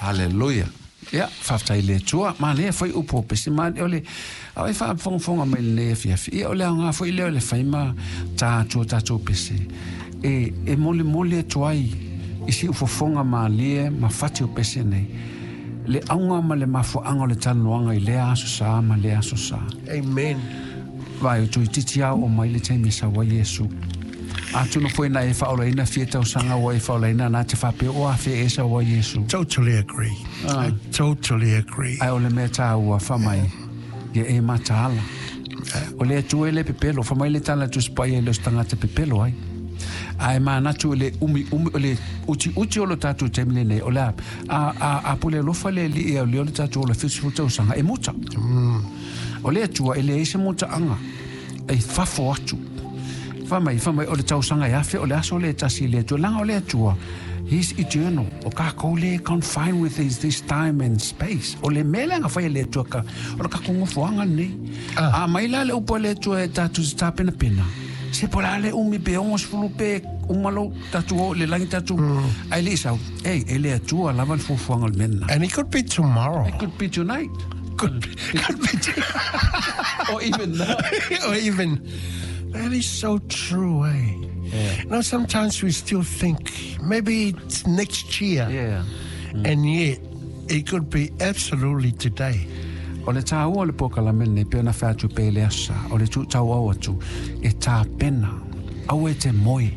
Hallelujah. Ia, faafetai i le Atua. Manaia foi upu o pese ma o le a o e faafogafoga mai lenei afiafi. Ia o le aoga foi lea o le fai ma ta atu o tatou pese e molimoli atu ai i siufofoga malie ma fati o pese nei le auga ma le mafuaaga o le talanoaga i lea aso sa ma lea aso sa. Amen. Vaai, o toeitiiti lava oo mai le taimi e sau ai Iesu. Atonu foi na e faaolaina fia tausaga ua e faaolaina na te faapea o afea e sau ai Iesu. Totally agree. I totally agree. Ae o le mea tāua, fa mai, ia e mataala. O le Atua e le pepelo, fa mai le tala a Tusi Paia e le o se tagata pepelo ai. Ae manatu i le umi umi o le uti uti o lo tatou taimi lenei, o le a, a, a, a pule alofa le Alii e auleo le tatou ola 70 tausaga, e muta. O le Atua e leai se mutaaga e fafo atu. Fa mai, fa mai, o le tausaga e afe, o le aso le tasi i le Atua. Leaga o le Atua, He's eternal. O kākou le confined with this time and space. O le mea lea na fai e le Atua ka, o le kākou nofoaga lenei. A mai la le upu a le Atua e tatou te tapenapena, se po o le a le umi pe 60 pe uma lou tatou oo i le lagi tatou, ae le i sau, ei, e le Atua lava le fuafuaga o le mea lena. And it could be tomorrow. It could be tonight. Could be Or even now. Or even, that is so true, eh? Yeah. You know, sometimes we still think maybe it's next year. Yeah. And yet, it could be absolutely today. O le tāua o le polokalame lenei, pei ona fai atu pea i le aso sa, o le tuutauau atu, e tapena, aua e te moe.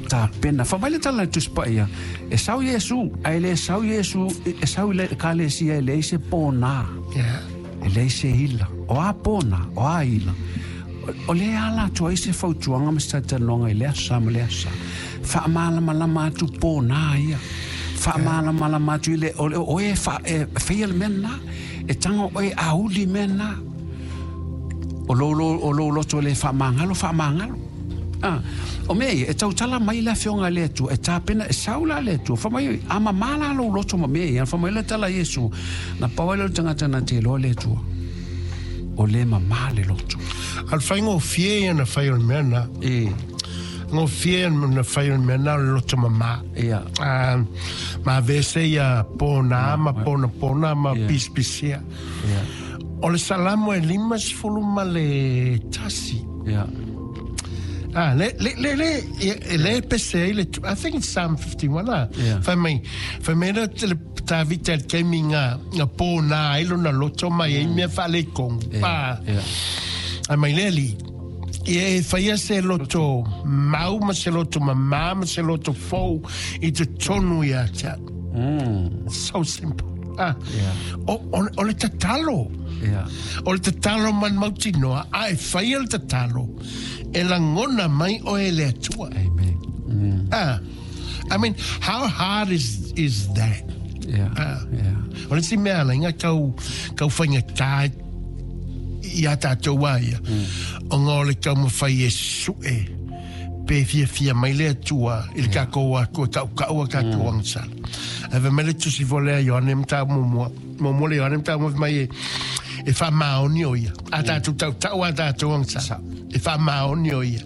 Tapena. Fa mai le tala i le Tusi Paia, e sau Iesu, ae le sau Iesu, e sau i le ekalesia e leai se pōnā. E leai se ila. O a pōnā, o a ila. O lea ala atu ai se fautuaga ma se talatalanoaga i le aso sa ma le aso sa. Faamalamalama atu pōnā ia. Faamalamalama atu i le, o oe e, fa, e faia le mea lena. E tago oe e auli mea lena. O lou, o lou loto le faamagalo, faamagalo. Ah, o mea ia, e tautala mai le afioga a le Atua, e tapena, e sau la le Atua, fa mai, a mamā la lou loto ma mea ia, fa mai le tala a Iesu, na pau ai lea o le tagata na te iloa le Atua, o le mamā le loto. A o le faigofie ia na fai o le mea na. E. Gofie na fai o le mea na o le loto mamā. Ia. Ma avese ia pōnā ma ponapona ma pisipisia. Ia. O le Salamo e 51. Ia. Ah, le, le, le, le, e le pese ai le, I think it's Psalm 51, ah. Yeah. Fai mai, fai mai le, le Tāvita i le taimi nga, nga pōnā ai lona loto mai ai mea faaletonu. Yeah, Pa, yeah. ai mai le Alii, ia e faia se loto mau ma se loto mamā ma se loto fou i totonu ia te au. So simple. Ah. Yeah. O, o, o le tatalo. Yeah. O le tatalo man mautinoa, a e faia le tatalo, e lagona mai oe e le Atua. Amen. Ah. I mean, how hard is that? Yeah. Ah. Yeah. O le isi mea ala, inga tau, tau faigata i a tātou a ia, ona o le taumafai e su'e pe fiafia mai le Atua i le tatou Atua tautau a tatou agasala. Ae fai mai le tusi foi lea a Ioane Mataupu Muamua, muamua le Ioane Mataupu Muamua fai mai e, e faamaoni o ia. A tatou tautau a tatou agasala, e faamaoni o ia.